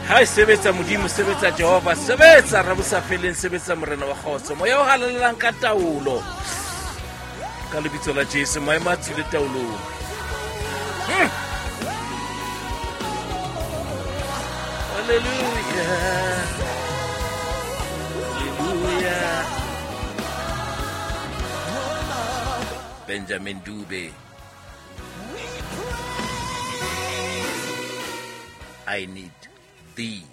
Ha e sebetsa Modimo, sebetsa Jehova, sebetsa Rabosafeleng, sebetsa Morena wa kgotso, moya o halalelang ka taolo. Ka lebitso la Jesu, maemo a tswile taolong. Hallelujah. Hallelujah. Benjamin Dube. I need thee.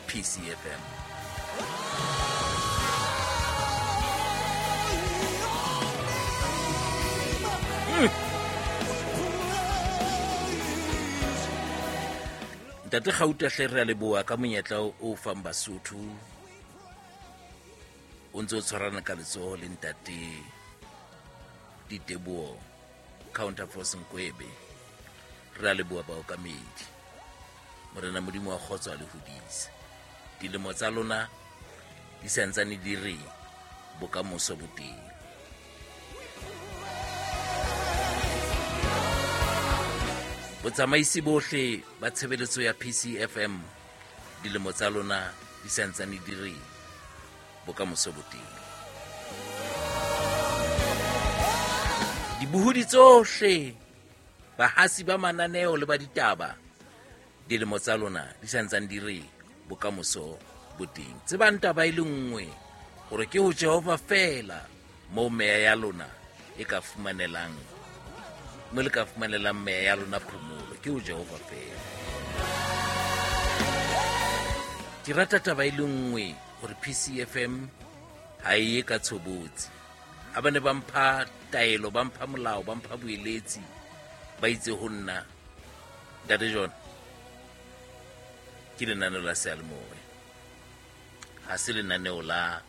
PCFM. Ntate Gauta hle re a leboha ka monyetla o fang Basotho o ntse o tshwarana ka letsoho le ntate Diteboho Counterforce Nkwebe. Re a leboha baokamedi. Morena Modimo wa kgotso a le hodise. Dilemo tsa lona di santsane di re bokamoso bo teng. Botsamaisi bohle ba tshebeletso ya PCFM dilemo tsa lona di santsane di re bokamoso bo teng. Dibohodi tsohle, bahasi ba mananeo le ba ditaba, dilemo tsa lona di santsane di re bokamoso bo teng. Tsebang taba e le nngwe, hore ke ho Jehova feela moo meya ya lona e ka fumanelang, mo le ka fumanelang meya ya lona phomolo, ke ho Jehova feela. Ke rata taba e le nngwe, hore PCFM ha e ye ka tshobotsi. Ha ba ne ba mpha taelo, ba mpha molao, ba mpha boeletsi, ba itse ho nna, Ntate John, ke lenaneo la seyalemoya, ha se lenaneo la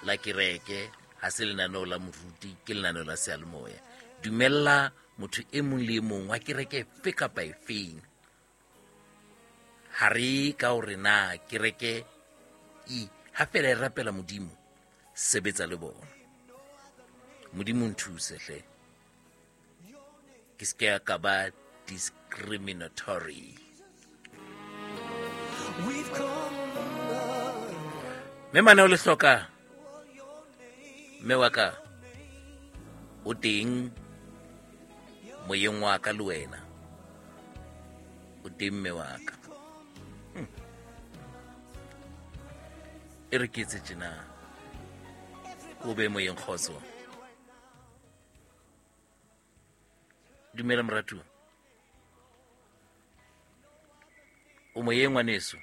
la kereke, ha se lenaneo la moruti, ke lenaneo la seyalemoya. Dumella motho e mong le e mong wa kereke efe kapa efeng, ha re ka hore na kereke e ha fela e rapela Modimo, sebetsa le bona. Modimo nthuse hle, ke se ka ba discriminatory. Mme mane o le hloka, mme wa ka o teng moyeng wa ka le wena o teng mme wa ka. E re ke etse tjena, o be moyeng kgotso. Dumela moratuwa, o moyeng ngwaneso.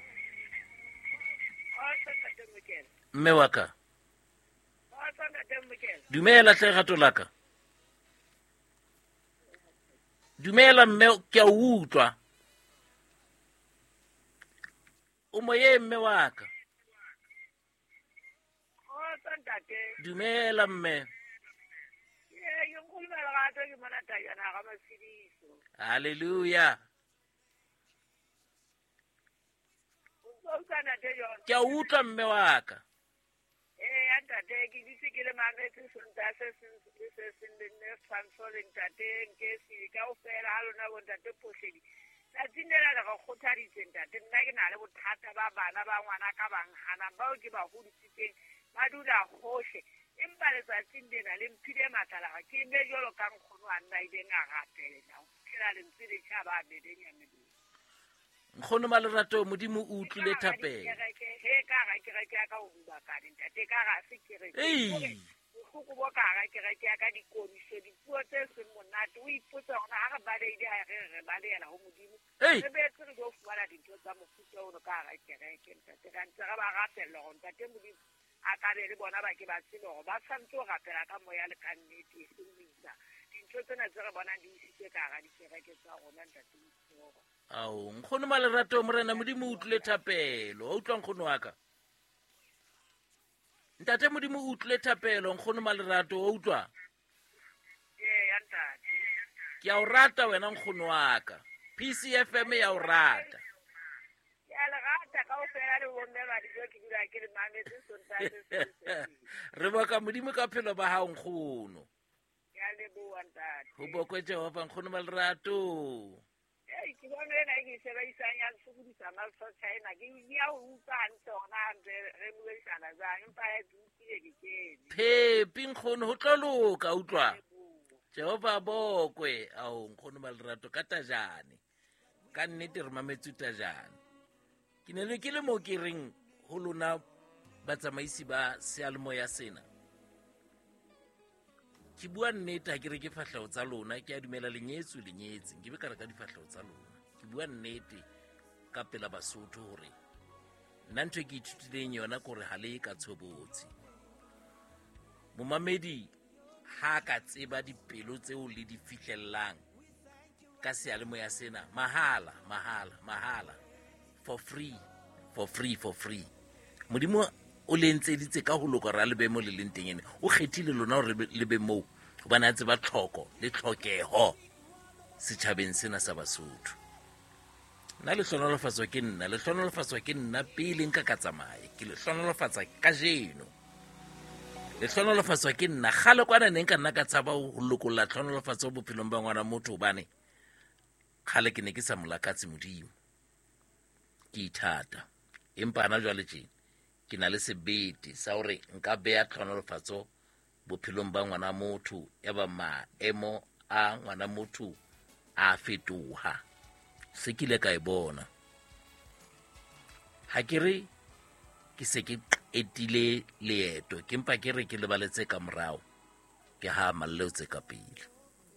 Mme wa ka, dumela hle rato la ka. Dumela mme, ke a o utlwa. O moyeng mme wa ka. Dumela mme. Hallelujah. Ke a utlwa mme wa ka. Ee, ntate, ke dutse ke le mametse Sontaha se seng le se seng le nne Tshwantsho le ntate Nkesi kaofela ha lona bo ntate Pohledi. Tsatsing lena le re kgothaditse ntate, nna ke na le bothata ba bana ba ngwana ka bang hanang bao ke ba hodisitseng ba dula hohle. Empa letsatsing lena le mphile matla la ke be jwalo ka nkgono a nna ileng a rapela ho fihlela lentswe le tjhaba a bebenya melomo. Nkgono Malerato, Modimo o utlwile thapelo. He ka hara kereke ya ka o rubakane ntate, ka hara se kereke. Bohloko bo ka hara kereke ya ka, dikodiso, dipuo tse seng monate. O ipotsa hore ha re balehile ha re re balehela ho Modimo. Re boetse re tlo fumana dintho tsa mofuta ono ka hara kereke ntate. Re ntse re ba rapella hore ntate Modimo a ka be le bona ba ke ba tsebe hore ba tshwanetse ho rapela ka moya le ka nnete, e seng ho isa dintho tsena tse re bonang di isitswe ka hara dikereke tsa rona ntate Modimo. Ao, nkgono Malerato, Morena Modimo o utlwile thapelo. Wa utlwa nkgono wa ka? Ntate Modimo o utlwile thapelo, nkgono Malerato, wa utlwa? Ee, ntate. Ke a o rata wena nkgono wa ka. PCFM ya o rata. Ke a le rata kaofela le bomme ba dijo, ke dula ke le mametse Sontaha se seng se seng. Re boka Modimo ka phelo ba hao nkgono. Ke a leboha ntate. Ho bokwe Jehova nkgono Malerato. Ei, ke Ke bona ena e ke e sebedisang ya ntshokodisa malsotjha ena. Ke ya ho utlwa hantle hore na ntse re buisana jwang, empa he ke utlwile ke kene. Phepi nkgono, ho tlo loka, utlwa. Jehova bokwe, ao nkgono ba lerato ka tajane. Ka nnete re mametse tajane. Ke ne le ke le mo ke reng ho lona batsamaisi ba seyalemoya sena. Ke bua nnete ha ke re ke fahleho tsa lona, ke a dumela lenyetswe lenyetse, nke be ka re ka difahleho tsa lona. Ke bua nnete ka pela Basotho hore nna ntho e ke ithutileng yona ke hore ha le ka tshobotsi. Momamedi ha ka tseba dipelo tseo le di fihlellang ka seyalemoya sena, mahala, mahala, mahala, for free, for free, for free. Modimo o le entseditse ka ho loka hore a le be mo le leng teng ene. O kgethile lona hore le be moo hobane a tseba tlhoko le tlhokeho setjhabeng sena sa Basotho. Nna le hlohonolofatswa ke nna, le hlohonolofatswa ke nna pele nka ka tsamaya. Ke le hlohonolofatsa kajeno. Le hlohonolofatswa ke nna. Kgale kwana ne nka nna ka tshaba ho lokolla tlhohonolofatso bophelong ba ngwana motho hobane kgale ke ne ke sa mo lakatse Modimo. Ke ithata. Empa hana jwale tjena ke na le sebete sa hore nka beha tlhohonolofatso bophelong ba ngwana motho, ya ba maemo a ngwana motho a fetoha. Se ke ile ka e bona. Ha ke re ke se ke qetile leeto, ke mpa ke re ke lebaletse ka morao, ke ha malleo tse ka pele.